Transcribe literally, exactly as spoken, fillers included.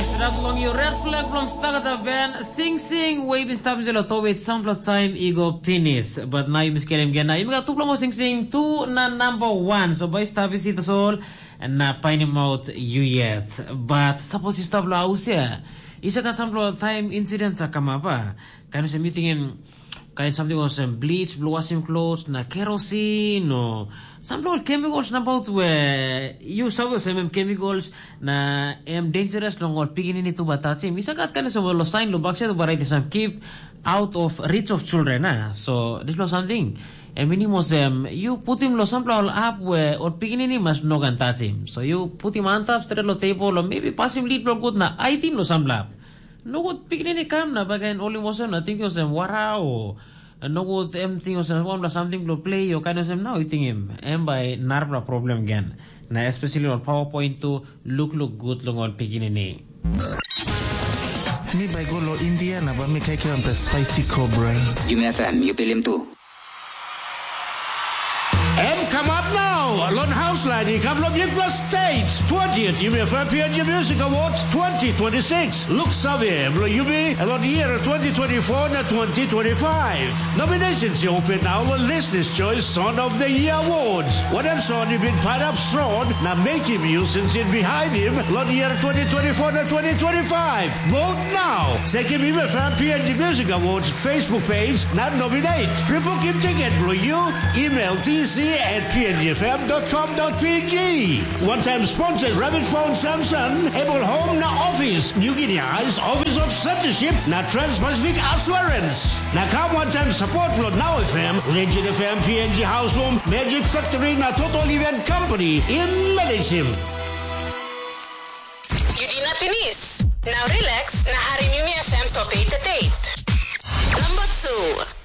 Stap long yu red flag bilong Stagata Ben, sing sing we bin stap insait long towet sampela taim i go pinis. But nau yumi skelim gen na yumi gat tupela mo sing sing tu na number one. So bai stap isi tasol na painim out yu yet. But sapos yu stap lo haus ya, i sa gat sampela taim incident sa kamap a. Kain olsem yu tingim kain samting olsem bleach bilong wasim klos na kerosin o sampela ol chemicals nabaut we yu save olsem em chemicals na em dangerous long ol pikinini tu bai tasim. I sa gat kain olsem ol sain long baksait bai raitim sam keep out of reach of children a. So dispela samting em minim olsem yu putim long sampela ol hap we ol pikinini mas no ken tasim. So yu putim antap stret long tebol o maybe pasim lid bilong gut na aitim long sampela hap. Nogut pikinini kam na baken ol i olsem na tingting olsem wara o nogut em ting olsem wanpela samting bilong plei o kain olsem nau i tingim em bai narapela problem gen. Na especially ol PowerPoint tu lukluk gut long ol pikinini. Mi bai go lo India na ba mi kaikiram pe spicy cobra. Yumi F M, yu pilim tu. Em kamap nau long haus lain i kam long bikpela stage. Twentieth Yumi F M P N G Music Awards twenty twenty-six. Luk save bilong yumi long year twenty twenty-four na twenty twenty-five. Nominations i open nau long Listeners Choice Song of the Year Awards. Wanem song i bin pairap strong na mekim yu sinsin behind him long year twenty twenty-four na twenty twenty-five. Vote now. Sekim Yumi F M P N G Music Awards Facebook page na nominate. Pre-booking ticket bilong yu, email T C at P N G F M dot com dot P G. One time sponsors Rabbit Phone Samson, Able Home na Office, New Guinea Eyes, Office of Censorship na Trans-Pacific Assurance. Na kam one time support bilong Now F M, Legend F M, P N G House Room, Magic Factory na Total Event Company. Im managem. Yu dinat pinis. Now relax na harim Yumi F M top eight at eight. Number two.